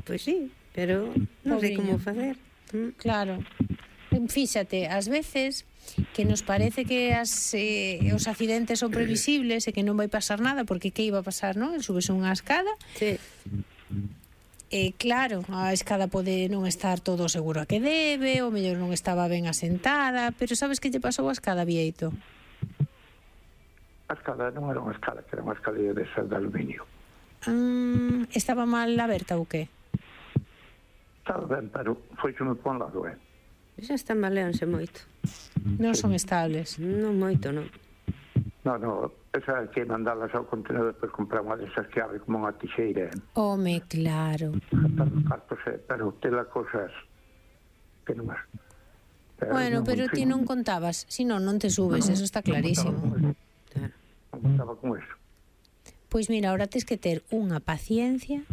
Pois sí, pero non sei como facer. Claro. Fíxate, ás veces que nos parece que os accidentes son previsibles e que non vai pasar nada, porque que iba a pasar, non? Subes unha escada. Sí. Claro, a escada pode non estar todo seguro a que debe, ou mellor non estaba ben asentada, pero sabes que lle pasou a escada, Bieito? A escada non era unha escada, que era unha escalera de aluminio. Estaba mal aberta ou que? Estaba ben, pero foixeme por un lado, Xa estambaleanse moito. Non son estables. Non moito, non. Non, esa que mandalas ao contenedor depois comprar unha desas que abre como unha tixeira. Home, claro. Pero tela cosas que non as... Bueno, pero ti non contabas, si non te subes, eso está clarísimo. Non contaba con eso. Pois mira, ahora tens que ter unha paciencia,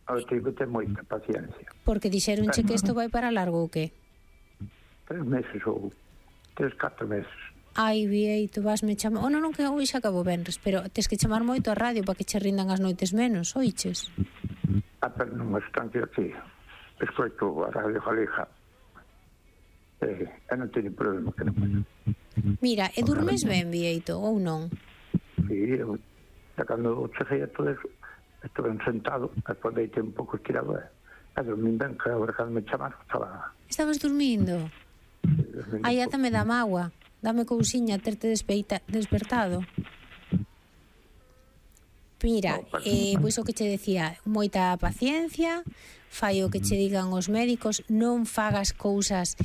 Ahora tenho que ter moita paciencia. Porque dixeronche que isto vai para largo ou que? 3 meses ou 3-4 meses. Ai, Bieito, vasme chamar... non, que hoxe acabo venres, pero tens que chamar moito a radio para que che rindan as noites menos, oiches? Pero non están aquí. Escoito a Radio Galega. E non teño problema que non. Mira, e durmes ben, Bieito, ou non? Sí, cando cheguei a todo eso, estuve sentado, despois deitei un pouco estirado e dormín ben, que agora cando me chamaron estaba... Estabas dormindo? Ai, ata me dá mágoa. Dame cousiña terte despertado. Mira, pois o que che decía, moita paciencia, fai o que che digan os médicos, non fagas cousas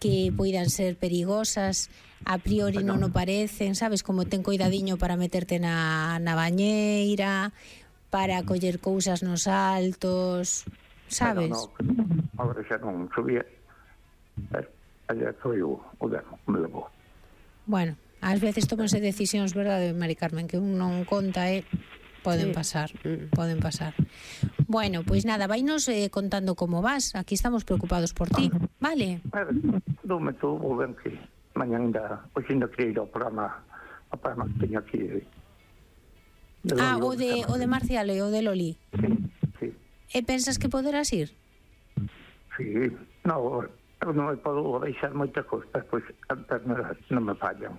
que poidan ser perigosas, a priori non o parecen, sabes, como ten coidadiño para meterte na bañeira, para coller cousas nos altos, sabes? Agora xa non subía. Allá foi o demo, me levou. Bueno, ás veces tómanse decisións, verdade, Mari Carmen, que un non conta e poden pasar. Bueno, pois nada, vainos contando como vas. Aquí estamos preocupados por ti, vale? Dome tú, vou ben que mañan ainda, hoxe ainda quería ir ao programa que teño aquí. O de Marcial e o de Loli. Sí. E pensas que poderás ir? Sí, non me podo deixar moitas cousas, pois as pernas non me fallan.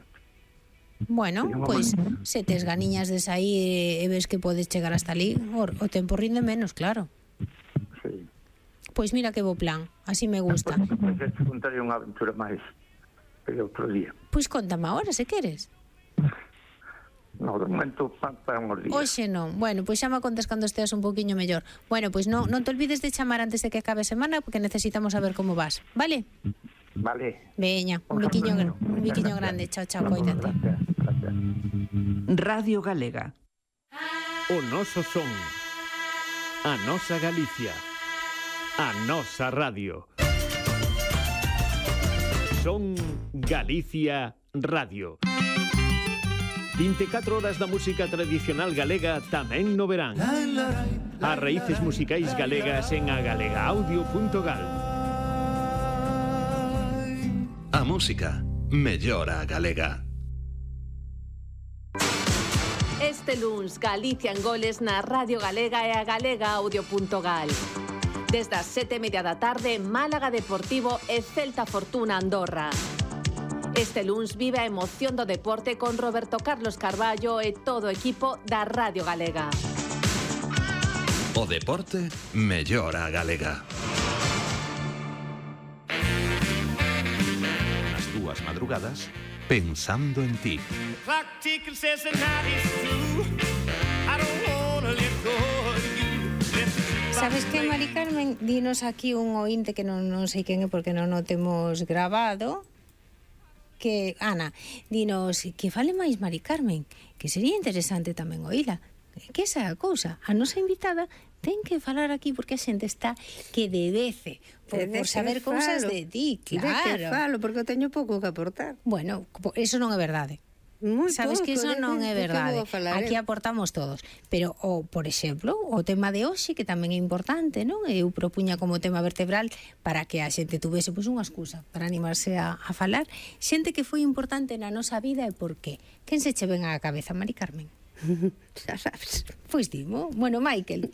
Bueno, pois se tes ganiñas de sair e ves que podes chegar hasta ali, o tempo rinde menos, claro. Sí. Pois mira que bo plan, así me gusta. Pois te contaré unha aventura máis que outro día. Pois contame agora, se queres. No, de momento para uns días. Oxe non, bueno, pois xa me contas cando esteas un poquinho mellor. Bueno, pois non te olvides de chamar antes de que acabe a semana, porque necesitamos saber como vas, vale? Vale. Veña, un biquiño grande, chao, coídate. Radio Galega. O noso son, a nosa Galicia, a nosa radio. Son Galicia Radio. 24 horas da música tradicional galega tamén no verán. As raíces musicais galegas en agalegaudio.gal. A música mellora a galega. Este luns, Galicia en goles na Radio Galega e a galegaudio.gal. Desde as 7:30 da tarde, Málaga Deportivo e Celta Fortuna Andorra. Este luns vive a emoción do deporte con Roberto Carlos Carballo e todo o equipo da Radio Galega. O deporte mellora a galega. Nas túas madrugadas, pensando en ti. Sabes que, Mari Carmen, dinos aquí un ointe que non sei quen é porque non o temos grabado, que, Ana, dinos que fale máis Mari Carmen, que sería interesante tamén oíla. Que esa é a cousa, a nosa invitada ten que falar aquí porque a xente está que debece por saber cousas de ti, claro. De que falo, porque eu teño pouco que aportar. Bueno, eso non é verdade. Sabes que eso non é verdade. Aquí aportamos todos. Pero, por exemplo, o tema de hoxe, que tamén é importante, non? Eu propuña como tema vertebral para que a xente tuvese unha excusa para animarse a falar. Xente que foi importante na nosa vida e por qué. Quen se che ven á cabeza, Mari Carmen? Xa sabes. Pois dimo. Bueno, Michael.